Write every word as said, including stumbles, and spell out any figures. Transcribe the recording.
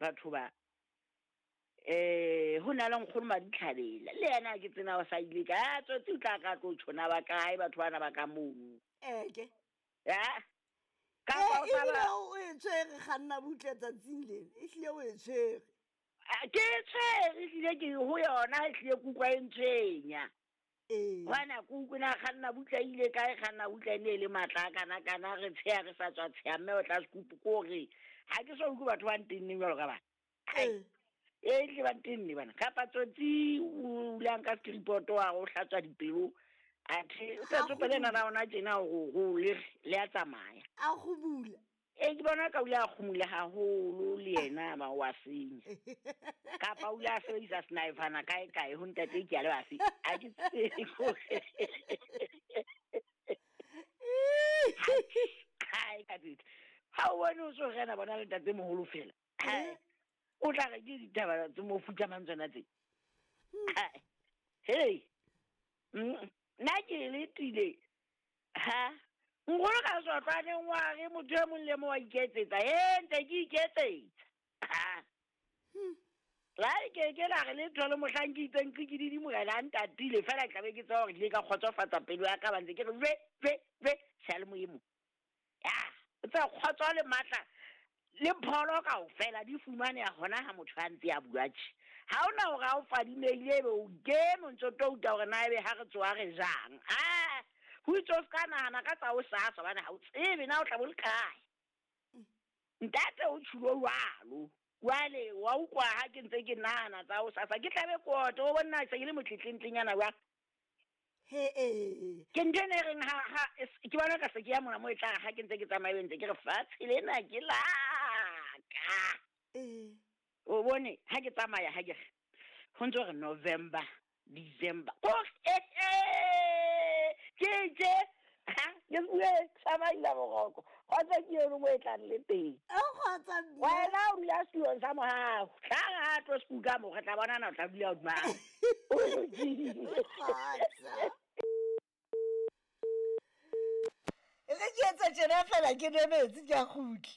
Batho ba um ho na le nkgono Maditlhabela le yena ke tsena o sa ile ka a tsotsi o tla ka tlo tjhona ba kae batho bana ba ka mono. Eke. Ya kapa o Eh, sa ebile ba o e tshwere kganna butle tsatsing lena, ehlile o e tshwere. Ah, ke e tshwere ehlile ke ho yona ehlile ke utlwa e ntshwenya. Ee. Hobane ke utlwe na kganna butle ile kae, kganna butle e ne e le matla a kana kana re tsheha re sa tswa tsheha mme o tla sekupu ke hore ha ke so utlwe batho ba ntenneng jwalo ka bana. Ee. E tle ba ntenne bana kapa tsotsi o ulang ka skripoto wa go hlatswa dipelo athe o Ha tla tsopele kgumula. nana ona tjena hore ho le le a tsamaya. A kgumula. E ke bona ka o ile a kgumula haholo le yena ba wa senya. Kapa o ile a sebedisa sniper kae kae ho ntate ke a le bafe. Ha ke tsebe hore. Hai ka tsitsi. Ha o bone o so rena bona le ntate moholo fela. Hai. O tla re ke ditaba tse mo futsamang tsona tse. Hai. Hey. Mm, nna ke letile. Ha. Nkgono ka sotlwaneng wa re motho e mong le mong wa iketsetsa. E ntse ke iketsetsa. Ha. La ke ke la re letho le mohlang ke itseng ke ke morena a ntatile fela ke tlabe ke tseba hore ke ile ka kgotsofatsa pelo ya ka ba ntse ke re jwe jwe jwe seyalemoyeng mo. Ya, o tseba kgotso le matla le pholo kaofela di fumaneha hona ha motho a ntse a bua tje. Ha hona hore ha o fadimehile ebe o kene o ntso touta hore na ebe ha re tsoha re jang. Ah, ho itse o ska nahana ka tsa hosasa hobane ha o tsebe na o tla bo le kae. Ntate o tjhulo jwalo. Jwale wa utlwa ha ke ntse ke nahana tsa hosasa ke tlabe ke ote o bona se ke le motletlentlengnyana jwang. He ee. Ke ntho ena e reng ha ha ke bona ka se ke ya mona mo e tla re ha ke ntse ke tsamaya ebe ntse ke re fatshe lena ke la ka. Ee. O bone ha ke tsamaya ha ke re ho ntso re November, December. Ko ke tje ha ke bue tsamaila boroko. Kgotsa ke yone mo e tlang le teng. A kgotsa mme. Wena o dula setulong sa mohao. Tla re ha tlo sekuka mo re tla bonana o tla dula hodima. O lokile. Kgotsa. E re ke etsa tjena fela ke nwe metsi ke a kgutla.